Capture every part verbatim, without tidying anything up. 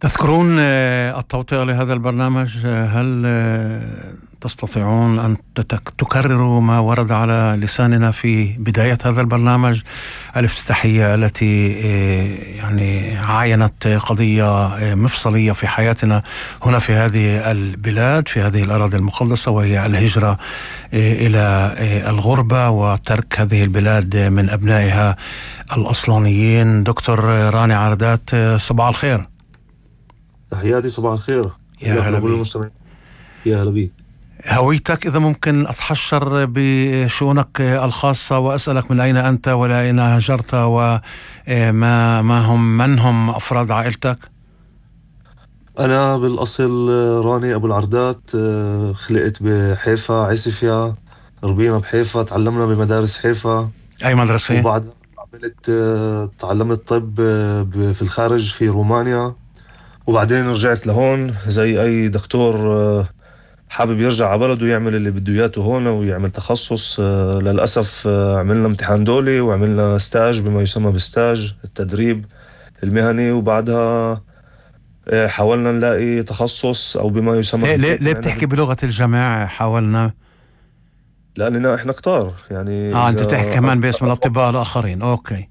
تذكرون آه، التوطئة لهذا البرنامج؟ آه، هل آه، تستطيعون أن تتك- تكرروا ما ورد على لساننا في بداية هذا البرنامج الافتتاحية التي آه، يعني عاينت قضية آه، مفصلية في حياتنا هنا في هذه البلاد، في هذه الأراضي المقدسة، وهي الهجرة آه، إلى آه، الغربة وترك هذه البلاد من أبنائها الأصلانيين. دكتور راني عردات، آه، صباح الخير. تحياتي، صباح الخير يا لك هلا ولكل بيك. المستمعين. يا هلا بيك. هويتك إذا ممكن أتحشر بشؤونك الخاصة وأسألك من أين أنت ولا أين هاجرت، وما ما هم من هم أفراد عائلتك؟ أنا بالأصل راني أبو العردات، آه، خلقت بحيفا عسفيا، ربينا بحيفا، تعلمنا بمدارس حيفا. أي مدرسة؟ وبعدها عملت آه، تعلمت طب آه، ب- في الخارج في رومانيا. وبعدين رجعت لهون زي أي دكتور آه، حابب يرجع على بلده يعمل اللي بده اياه هون ويعمل تخصص. آه، للأسف آه، عملنا امتحان دولي وعملنا ستاج بما يسمى بستاج التدريب المهني، وبعدها آه، حاولنا نلاقي تخصص أو بما يسمى ليه, ليه, حتى ليه يكون عندنا بتحكي بال... بلغة الجماعة حاولنا؟ لأننا إحنا كتار يعني. آه أنت إذا بتحكي أنا كمان باسم الأطباء أتوقع الآخرين. أوكي.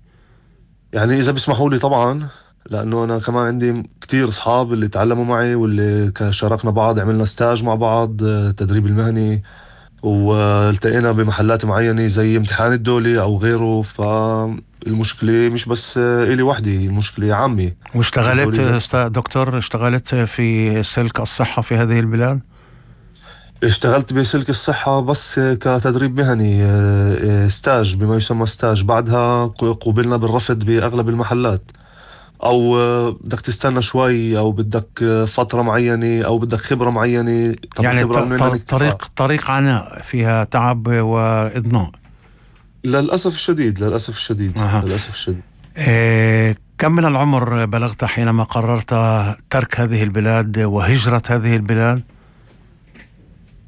يعني إذا بيسمحوا لي طبعا، لأنه أنا كمان عندي كتير أصحاب اللي تعلموا معي واللي كان شاركنا بعض، عملنا ستاج مع بعض آه، تدريب المهني، والتقينا بمحلات معينة زي امتحان الدولي أو غيره. فالمشكلة مش بس آه، إلي وحدي، المشكلة عامة. بدهم واشتغلت لي است- دكتور، اشتغلت في سلك الصحة في هذه البلاد؟ اشتغلت بسلك الصحة بس كتدريب مهني، آه، آه، ستاج بما يسمى ستاج. بعدها قوبلنا بالرفض بأغلب المحلات، أو آه، بدك تستنى شوي، أو بدك آه، فترة معينة، أو بدك خبرة معينة. طب يعني ط- الخبرة من وين ط- نكتسبها؟ طريق طريق عناء فيها تعب وإضناء. للأسف الشديد، للأسف الشديد، أها. للأسف الشديد. إيه، كم من العمر بلغت حينما قررت ترك هذه البلاد وهجرة هذه البلاد؟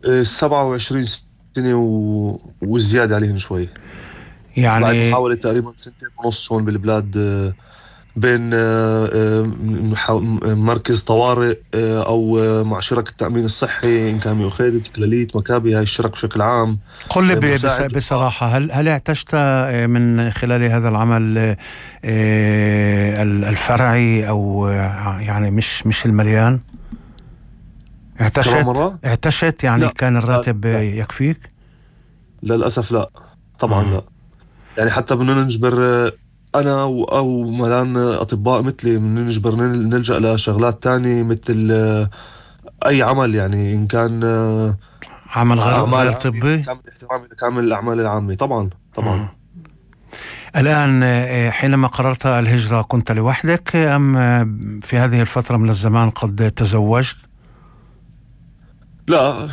آه، سبعة وعشرين سنة و... وزيادة عليهم شوي. بعد يعني محاولة تقريبا سنتين ونص هون بالبلاد، آه، بين آه، آه، محا- مركز طوارئ، آه، أو آه، مع شركة التأمين الصحي، إن كان ميوخيد، تكلاليت، مكابي، هاي الشرك بشكل عام. قل لي آه، ب- بس- مساعد جراح. بصراحة، هل هل اعتشت آه، من خلال هذا العمل آه، ال- الفرعي، أو آه، يعني مش مش المليان؟ كمان اعتشت مرة؟ اعتشت يعني لا، كان لا، الراتب لا، يكفيك؟ للأسف لا، طبعا آه. لا. يعني حتى بدنا نجبر، آه، أنا و- أو ملان أطباء مثلي، بدنا نجبر نل- نلجأ لشغلات تانية مثل آه، أي عمل، يعني إن كان آه، عمل غير أعمال غير عامة طبي؟ بتعمل اهتمام لكامل الأعمال العامة. طبعا، طبعا. آه. الآن آه، حينما قررت الهجرة كنت لوحدك، أم آه، في هذه الفترة من الزمان قد تزوجت؟ لا،